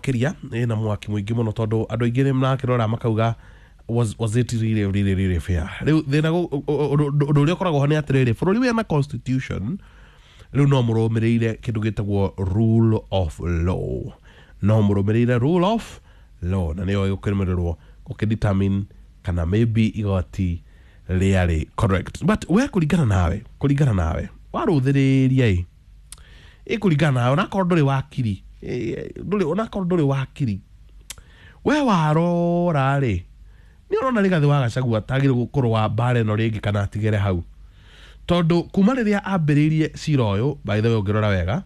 Makĩria ĩna mwaki mũingĩ mũno, tondũ andũ aingĩ nĩ marakĩrora makauga, was it really, really, really fair? Rĩu thĩna ũndũ ũrĩa ũkoragwo ho nĩ atĩrĩrĩ, bũrũri wĩna constitution, rĩu no mũrũmĩrĩire kĩndũ gĩtagwo rule of law, no mũrũmĩrĩire rule of law, na nĩyo ĩgũkĩrũmĩrĩrwo gũkĩdetermine kana maybe igoti rĩarĩ correct. But we kũringana nawe warũthĩrĩria ĩ kũringana nawe, onakorwo ndũrĩ wakiri, ndũrĩ, onakorwo ndũrĩ wakiri, we warora rĩ, nĩ ũrona Rigathĩ wa Gachagua tagĩrĩirwo gũkorwo wa mbara ĩno rĩngĩ kana atigere hau? Tondũ kuma rĩrĩa ambĩrĩirie cira ũyũ, by the way, ũngĩrora wega,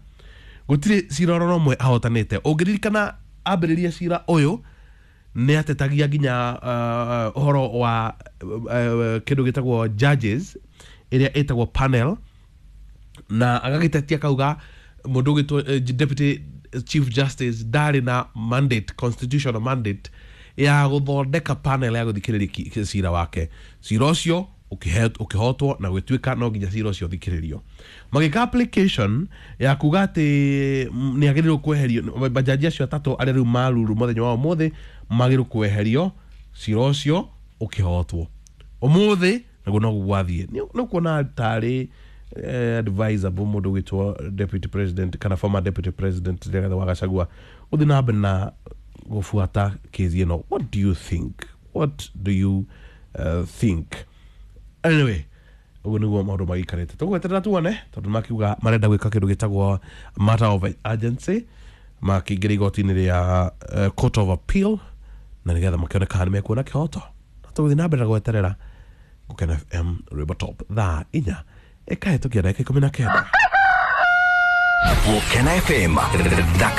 gũtirĩ cira oro ũmwe ahotanĩte. Ũngĩririkana ambĩrĩria cira ũyũ nĩ atetagia nginya ũhoro wa kĩndũ gĩtagwo judges ĩrĩa ĩtagwo panel, na agagĩtetia kauga mũndũ ũgĩtwo Deputy Chief Justice ndarĩ na mandate, constitutional mandate ya gũthondeka panel ya gũthikĩrĩria cira wake. Cira ũcio ũkĩhotwo na gwĩtuĩka no nginya cira ũcio ũthikĩrĩrio. Magĩka application ya kuga atĩ nĩ agĩrĩirwo kweherio, majaji acio atatũ arĩa rĩu maruru mũthenya wa ũmũthĩ magĩrĩirwo kweherio. Cira ũcio ũkĩhotwo ũmũthĩ, naguo noguo gwathiĩ. Nĩ ũkuona tarĩ advisable mũndũ ũgĩtwo Deputy President kana former Deputy President Rigathĩ wa Gachagua gũthiĩ na mbere na gũbuata kesi ĩno? What do you think? What do you think? Anyway, ũguo nĩguo maũndũ magĩikarĩte. Tũgweterera tuone, tondũ makiuga marenda gwĩka kĩndũ gĩtagwo matter of urgency, makĩingĩra igoti-inĩ rĩa Court of Appeal, na nĩgetha makĩone kana nĩ mekuona kĩhoto. Na tũgũthiĩ na mbere na gweterera. Gũkena FM, Rwĩmbo Top, thaa 4 ĩkahĩtũkia ndagĩka 19. Gũkena FM thaka.